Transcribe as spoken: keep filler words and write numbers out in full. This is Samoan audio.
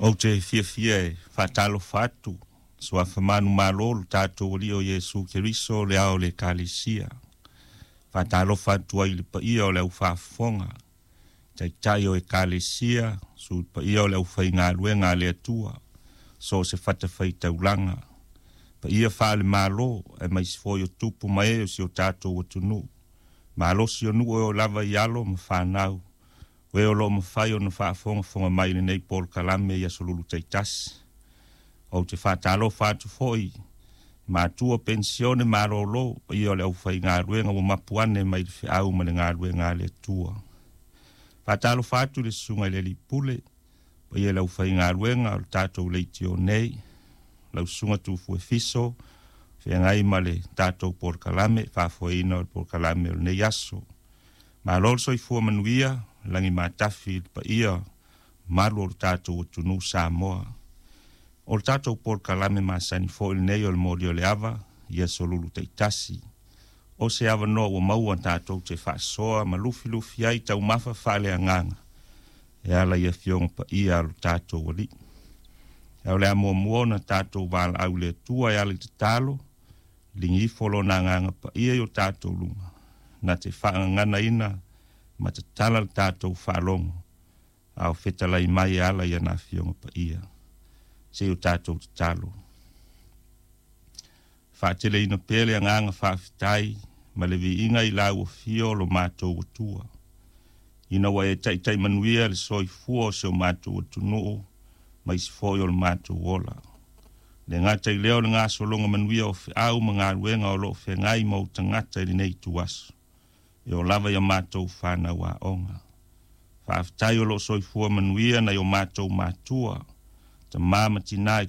Ou te fiafia e faatalofa atu suafa manumalo lo tatou Alii o Iesu Keriso le ao o le Ekalesia. Faatalofa atu ai i le paia o le aufaafofoga, taitai o Ekalesia, sui paia o le aufaigaluega a le Atua, so o se fatafaitaulaga, paia faale-Malo aemaise foi o tupu ma ee o si o tatou atunuu, malosi o nuu e oo lava i alo ma fanau, o e o lo o mafai ona faafogafoga mai i lenei polokalame i aso Lulu taitasi. Ou te faatalofa atu foi i matua penisione malolo, paia o le aufaigaluega ua mapu ane mai le feau ma le galuega a le Atua. Faatalofa atu i le susuga i le Alii Pule, paia i le aufaigaluega o le tatou leitio nei, lau susuga Tufuefiso, feagai ma le tatou polokalame, faafoeina o le polokalame o lenei aso. Malo le soifua manuia, lagi matafi i le paia malu o le tatou atunuu Samoa. O le tatou polokalame masani foi lenei o le moli o le ava i aso Lulu taitasi. O se avanoa ua maua tatou te faasoa ma lufilufi ai taumafa faaleagaga e ala i afioga paia a lo tatou Alii. Ae o le a muamua ona tatou valaau i le Atua e ala i tatalo, ligi ifo lona agaga paia i o tatou luga, na te faagaganaina ma tatala le tatou faalogo, a o fetalai mai e ala i ana afioga paia. Se i o tatou tatalo. Faateleina pea le agaga faafetai ma le viiga i lau afio o lo matou Atua, ina ua e taitai manuia le soifua o si o matou atunuu ma isi foi o le matou ola. Le gata i lea o le gasologa manuia o feau ma galuega o lo o feagai ma ou tagata i lenei ituaso, e oo lava ia matou fanau aoga. Faafetai o lo o soifua manuia nai o matou matua, tama ma tina i